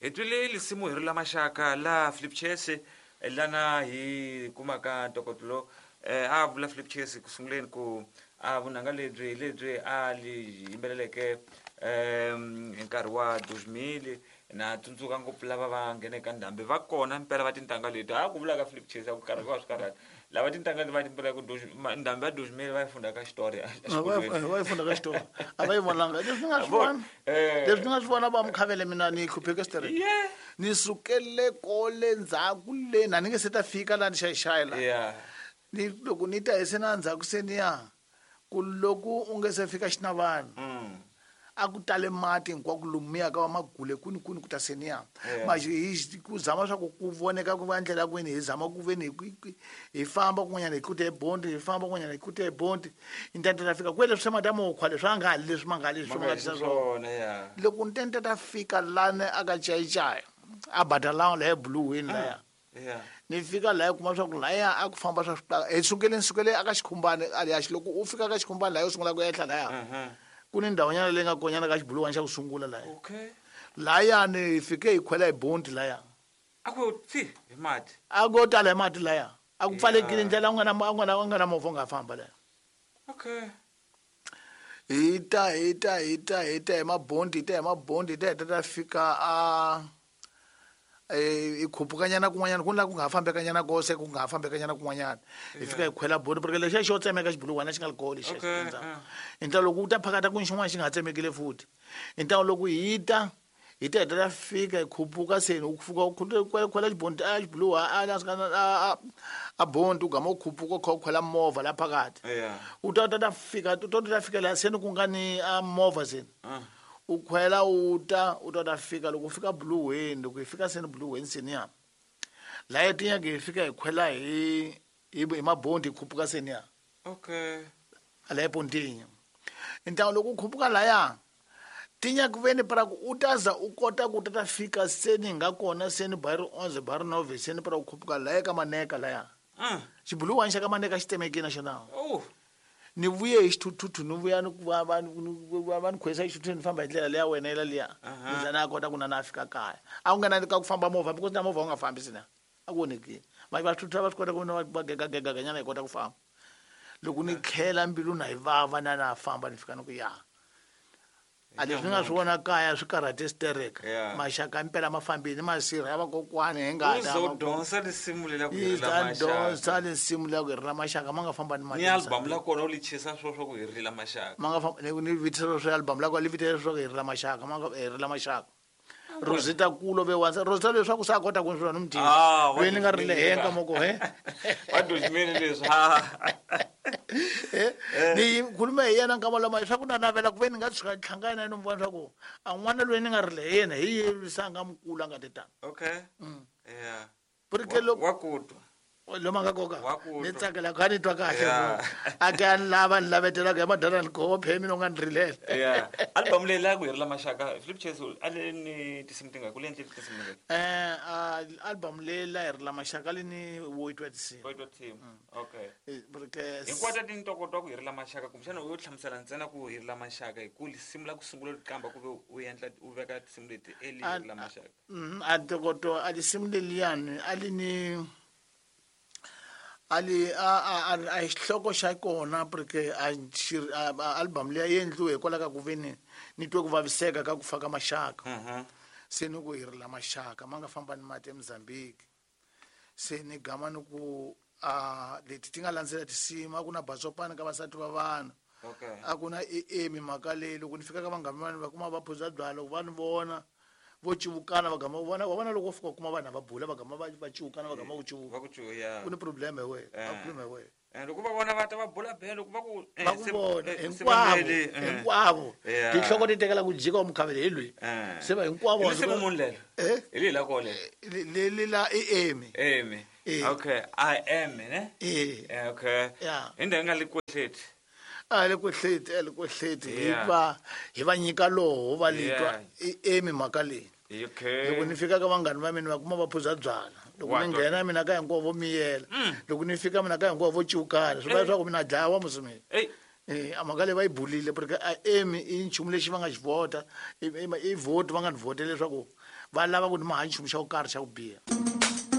Hi twile lisimu hi ri la maxaka la Philip Chase lana hi kumaka ntokoto lowu a vula Philip Chase ku sunguleni ku a vunanga lebyi hi lebyi a li yimbeleleke hi nkarhi wa 2000 na tsundzuka ngopfu lava va ngheneke ndhambi va kona mpela va tintangha leti ha ku vula ka Philip Chase a ku karhi va swi karhata lava tintangha leti va yimbelelaka ndhambi ya 2000 va yi funda ka xitori va yi funda ka xitori a va yi vonanga leswi ni nga swi vona leswi ni nga swi vona va mukhavele mina ni hlupheke straight ni sukele kole ndzhaku le na ni nge se ta fika laha ni xayixayi la ni loko ni ta hi se na ndzhaku se ni ya ku loko u nge se fika xinavana a ku tale mati hinkwako lomuya ka va magule kwini kwini ku ta seniya manje hi ku zama swa ku ku voneka ku va ndlela kwini hi zama ku veni hi famba kun'wanyana hi kute hi bondi hi famba kun'wanyana hi kute hi bondi intente ta fika kwele swi mata mukhwa leswi a nga ha leswi ma nga leswi ma nga tisa swona loko ntente ta fika lani a ka chayachaya a badalawa laya buluwini laya ni fika laya kuma swa ku laya a ku famba swa hi sukele ni sukele aka xikhumbani aliya loko u fika ka xikhumbani laya u sungula ku ehla laya ku ni ndhawunyana leyi nga konyana ka xibuluwani xa ku sungula laya layani hi fike hi khwela hi bondi laya a ku tsi hi mati a ku tala hi mati laya a ku pfalekile ndlela u nga na u nga na u nga na movha u nga famba laya okay hi ta hi ta hi ta hi ta hi mabondi hi ta hi mabondi hi ta hi ta ta fika a hi khupukanyana kun'wanyana ku na ku nga ha fambekanyana kose ku nga ha fambekanyana kun'wanyana hi fika hi khwela bodi porque lexiya xo tsemeka xibuluwana xi nga li koho lexiya hi ntlawa loko u ta phakata ku xin'wana xi nga ha tsemekile futhi hi ntlawa loko hi ta hi ta hi ta fika hi khupuka seni u fika u khwela xibondi a xibuluwa a a bondi u gama u khupuka u kha u khwela movha la phakathi u ta ta ta fika u ta ta fika laha seni ku nga ni a movha seni u khwela u ta u ta ta fika loko u fika buluweni loko hi fika seni buluweni seni ya laya tinyake hi fika hi khwela hi hi mabondi hi khupuka seni ya okay laya pontinya ntlangu loko u khupuka laya tinyaka veni para ku u ta za u kota ku ta ta fika seni nga kona seni ba ri 11 ba ri 9 seni para u khupuka laya ka maneka laya xibuluwani xa ka maneka xi temekile na xona ni vuye hi xithuthuthu ni vuya ni va va va ni khwesa xithuthuthu ni famba hi ndlela leya wena yela liya ni za na kota ku na na fika kaya a ku nga na ka ku famba movha because na movha wu nga fambi sina a ku onhekile va va thuthutha va swi kota ku va gegagegaganyana hi kota ku famba loko ni tlhela mbilu na yi vava na na famba ni fika ni ku ya a leswi ni nga swi vona kaya swi karhate stereka maxaka impela ma fambile masirha ya vakokwani hi ngata lisimu lela ku hirila maxaka lisimu lela ku hirila maxaka ma nga famba ni mati ni album la kona u li chisa swo swa ku hirila maxaka ma nga famba ni vitisa swo album la kona li vitisa swo ku hirila maxaka ma nga hirila maxaka Rosita kulo ve wansa Rosita leswaku sa kota ku swona mutini loyi ni nga ri le henka moko he wa dojimeni leswi ni khulume hi yena nkama lama leswaku na navela ku ve ni nga tshuka hlangana na yena vona swa ku a n'wana loyi ni nga ri le yena hi ye se a nga mukulu a nga te tani okay yeah porque loko wa ku twa lomu a nga koka ni tsakela kha ni twa kahle a ke a ni lava ni lavetelaka hi madala ni koho phe mina u nga ni rilela yeah album leyi la ku herila maxaka Philip Chase a le ni tinsimu tingaki ku le endle tinsimu tingaki album leyi la herila maxaka le ni wo twa tinsimu wo twa tinsimu okay porque hinkwato ti ntokoto wa ku herila maxaka kumbexana u yo hlamusela ntsena ku herila maxaka hi ku lisimu la ku sungula qamba ku ve u endla u veka tinsimu leti eli herila maxaka A ntokoto a lisimu leliyani a li ni a li a a a a xihloko xa kona porque a xi album liya yi endliwe hikwalaho ka ku ve ni ni twe ku vaviseka ka ku fa ka maxaka se ni ku hi rila maxaka ma nga famba ni mati eMozambique se ni gama ni ku a leti ti nga landzela tinsimu a ku na basopani ka vasati va vanhu a ku na e mhaka leyi loko ni fika ka vanghana va va kuma va phuza byalwa loko va ni vona vo civukana va gama vona wa vona loko wo fika u kuma vanhu va bula va gama va va civukana va gama ku civuka va ku cuya ku ni problem hi wena va problem hi wena loko va vona va ta va bula bele loko va ku va ku vona hinkwavo hinkwavo tinhloko ti tekela ku jika wa mukhavele hi loyi se va hinkwavo se munhu lelo hi leyi la kole leli la i emi emi okay I am ne okay hi ndhawu nga le kwehleti a le kwehleti a le kwehleti hi va hi va nyika loho va litwa i emi mhaka leyi loko ni fika ka vanghani va mina va kuma va phuza byala loko ni nghena mina ka hinkwavo vo miyela loko ni fika mina ka hinkwavo vo ciukana swi vula leswaku mina dlawa musi mina A mhaka leyi va yi bulile porque a emi i nchumu lexi va nga xi vhota, i vote va nga ni vhotela leswaku va lava ku ni maha nchumu xa ku karhi xa ku biha.